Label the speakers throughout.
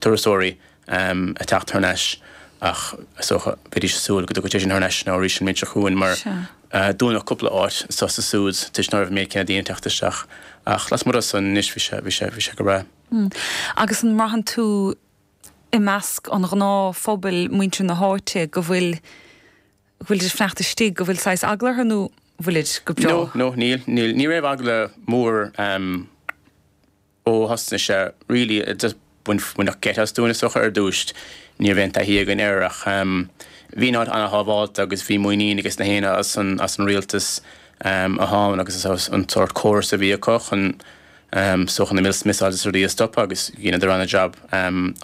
Speaker 1: Turasóirí ag teacht thar n-ais ach is dócha bheidís ag súil go dtiocfadh sé sin thar n-ais now arís an mbliain seo chugainn mar dúnadh cúpla áit anso is ansúd toisc ná raibh an méid céanna daoine ag teacht isteach ach lasmuigh de san anois bhí sé bhí sé bhí sé go breá.
Speaker 2: Agus an mbraitheann tú i measc an ghnáthphobail, muintir na háite, go bhfuil go bhfuilid ag fanacht istigh, go bhfuil saghas eagla orthu nó bhfuilid go breá?
Speaker 1: No, no, níl, níl. Ní raibh eagla mór. Ó thosnaigh sé really just baineadh geit as dúinn is dócha ar dtús. Ní raibh aon taithí againn air ach bhí an áit ana-shábháilte agus bhí muinín ages na héinne as an as an rialtas atá ann agus as an sórt córas a bhí acu chun so chun na missiles is rudaí a stopadh agus dheineadar ana-jab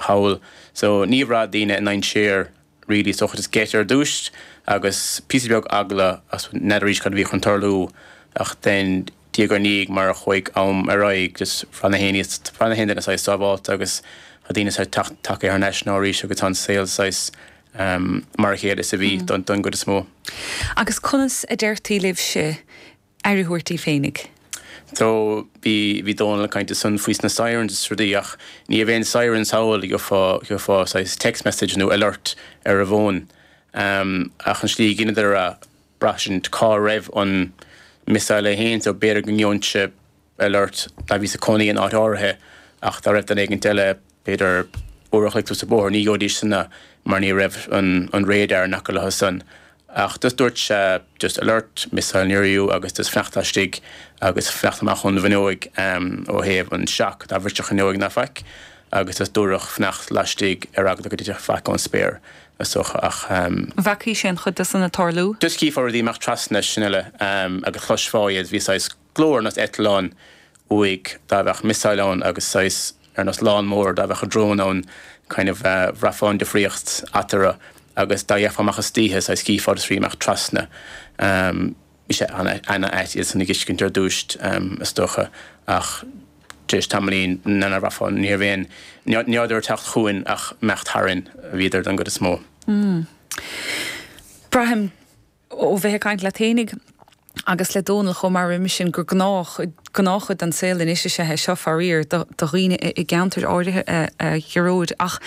Speaker 1: thall. So ní bhraith daoine i ndainséar really is dócha just geit ar dtús agus píosa beag eagla as n'fheadar arís cad a bhí chun tarlú ach then diaidh ar ndiaidh mar a chuaigh am ar aghaidh just bhraith na héinne bhraith na haon duine saghas sábháilte agus tá daoine saghas teacht tagtha thar n-ais now arís agus tá an saol saghas mar a chéile is a bhí don don gcuid is mó.
Speaker 2: Agus conas a deirtí libhse aire a thabhairt daoibh féinig.
Speaker 1: So bhí, bhí Dónal ag caint ansan faoi sna sirens is rudaí ach ní raibh aon sirens thall, gheofá, gheofá saghas text message nó alert ar an bhfón. Ach an slí a dheineadar é, braithsint cá raibh an missile é fhéin so b'fhéidir go ngeobhainnse alert dá bhíos ag cónaí in áit áirithe ach dá raibh duine éigint eile b'fhéidir uair a chloig suas an bóthar, ní gheobhaidís san é mar ní raibh an, an radar in aice leo san. Ach just dúirt sé just alert, missile near you agus just fanacht laistigh agus fanacht amach ón bhfuinneoig ó thaobh an shock dá bhrisfeadh fuinneoig ná faic agus just dúradh fanacht laistigh ar eagla go dtitfeadh faic ón spéir is dócha ach.
Speaker 2: An bhfeacaís aon chuid de san ag tarlú?
Speaker 1: Just chífeá rudaí imeacht trasna sin uile agus chloisfeá iad, bhí saghas glór ar nós eitleán uaidh dá bheadh missile ann agus saghas ar nós lann mór dá bheadh drone ann kind of bhraithfeá an difríocht eatarthu agus dá bhféachfá amach istoíche saghas chífeá just rudaí imeacht trasna. Bhí sé ana-ait iad san a dh'fheiscint ar dtús is dócha ach tar éis tamaillín nár bhraithfeá ní raibh aon ní rabhadar ag teacht chugainn ach imeacht tharainn a bhíodar don gcuid is mó.
Speaker 2: Braithim Ó bheith ag caint leat fhéinig agus le Dónal chomh maith roimis sin gur gnáth, gnáthchuid den saol anois is ea é seo, faraor, do dhaoine i gceantair áirithe, a Ghearóid. Ach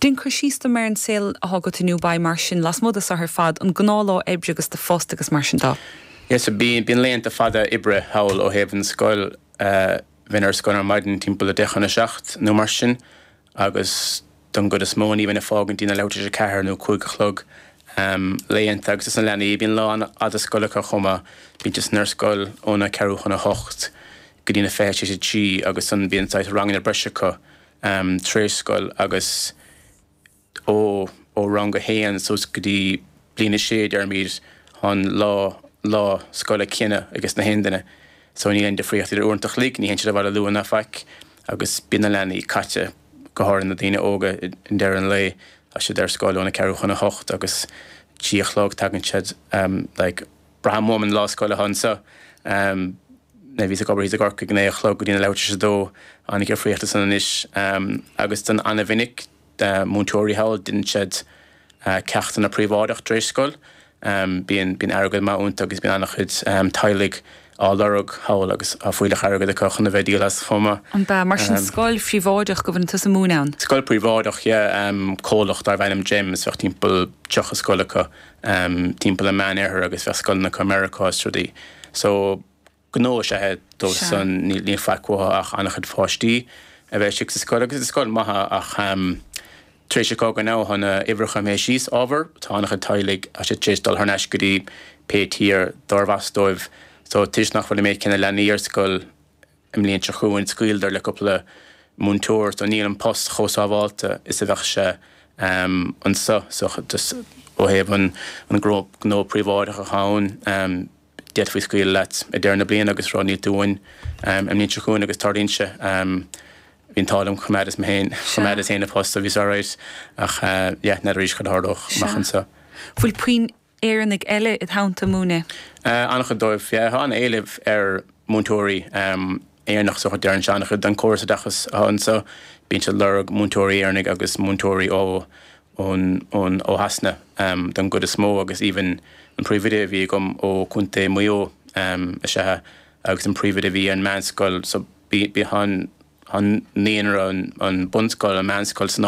Speaker 2: déan cur síos dom ar an saol atá agat i nDubai mar sin, lasmuigh de seo ar fad, an gnáthlá oibre agus do phost agus mar sin de.
Speaker 1: Yeah, so bíonn, bíonn laethanta fada oibre thall ó thaobh an scoil, bheinn ar scoil ar maidin timpeall a deich chun a seacht nó mar sin agus don gcuid is mó ní bheinn ag fágaint go dtí na leathuair tar éis a ceathair nó 5 a chlog laethanta agus is na leanaí bíonn lá an-fhada scoile acu chomh maith bíonn siad ar scoil óna ceathrú chun a hocht go dtí na 23:40 agus ansan bíonn saghas ranganna breise acu tar éis scoil agus ó ó rang a haon suas go dtí bliain a sé deirimid tá an lá lá scoile céanna ages na haon duine so níl aon difríocht idir uaireanta a chloig ní théann siad abhaile luath ná faic agus bíonn na leanaí caite go háirithe na daoine óga i ndeireadh an lae tá siad ar scoil óna ceathrú chun a hocht agus trí a chlog tagann siad like braithim uaim an lá scoile atá anseo nuair a bhíos ag obair thíos i gCorcaigh 9 a chlog go dtí na leathuair tar éis a dó an-difríocht ansan anois agus don an-mhinic múinteoirí thall déanann siad ceachtanna príobháideach tar éis scoil. Bíonn bíonn airgead maith iontu agus bíonn an-chuid teaghlaigh á lorg thall agus tá fuílleach airgid acu chun a bheith ag díol as chomh maith.
Speaker 2: An ea? Mar sin scoil phríobháideach go bhfuil tusa ag múineadh ann?
Speaker 1: Scoil phríobháideach, yeah. Comhlacht darbh ainm GEMS, bheadh timpeall 30 scoil acu timpeall an Meán-Oirthir agus bheadh scoileanna acu i Meiriceá is rudaí. So. Gnó is ea é dóibh san, níl faic uathu ach an-chuid pháistí a bheith istigh sa scoil agus is scoil maith é ach tar éis an chogaidh now tá na uimhreacha imithe síos ábhar, tá an-chuid teaghlaigh, tá siad tar éis dul thar n-ais go dtí pé tír dárbh as dóibh so toisc nach bhfuil an méid céanna leanaí ar scoil i mbliain seo chugainn scaoileadar le cúpla múinteoir so níl an post chomh sábháilte is a bheadh sé anseo so just ó thaobh an gnó príobháideach atá ann. D'fhéadfaí scaoileadh leat ag deireadh na bliana agus rá níl tú uainn an mbliain seo chugainn agus tarlaíonn sé. Bhí an t-ádh liom choimeádas mé féin, choimeádas féin an post so bhíos alright ach yeah n'fheadar arís cad a tharlódh amach anseo.
Speaker 2: Bhfuil puinn Éireannaigh eile id theannta ag múineadh?
Speaker 1: An-chuid dóibh, yeah. Tá an-éileamh ar múinteoirí Éireannach so deireann sé an-chuid don córas oideachais atá anseo. Bíonn siad ag lorg múinteoirí Éireannaigh agus múinteoirí ó ón ón ó Shasana don gcuid is mó agus even an príomhoide a bhí agam ó Contae Mhaigh Eo is ea agus an príomhoide a bhí ar an meánscoil so bhí bhí an. an naíonra, an bunscoil, an meánscoil san áit.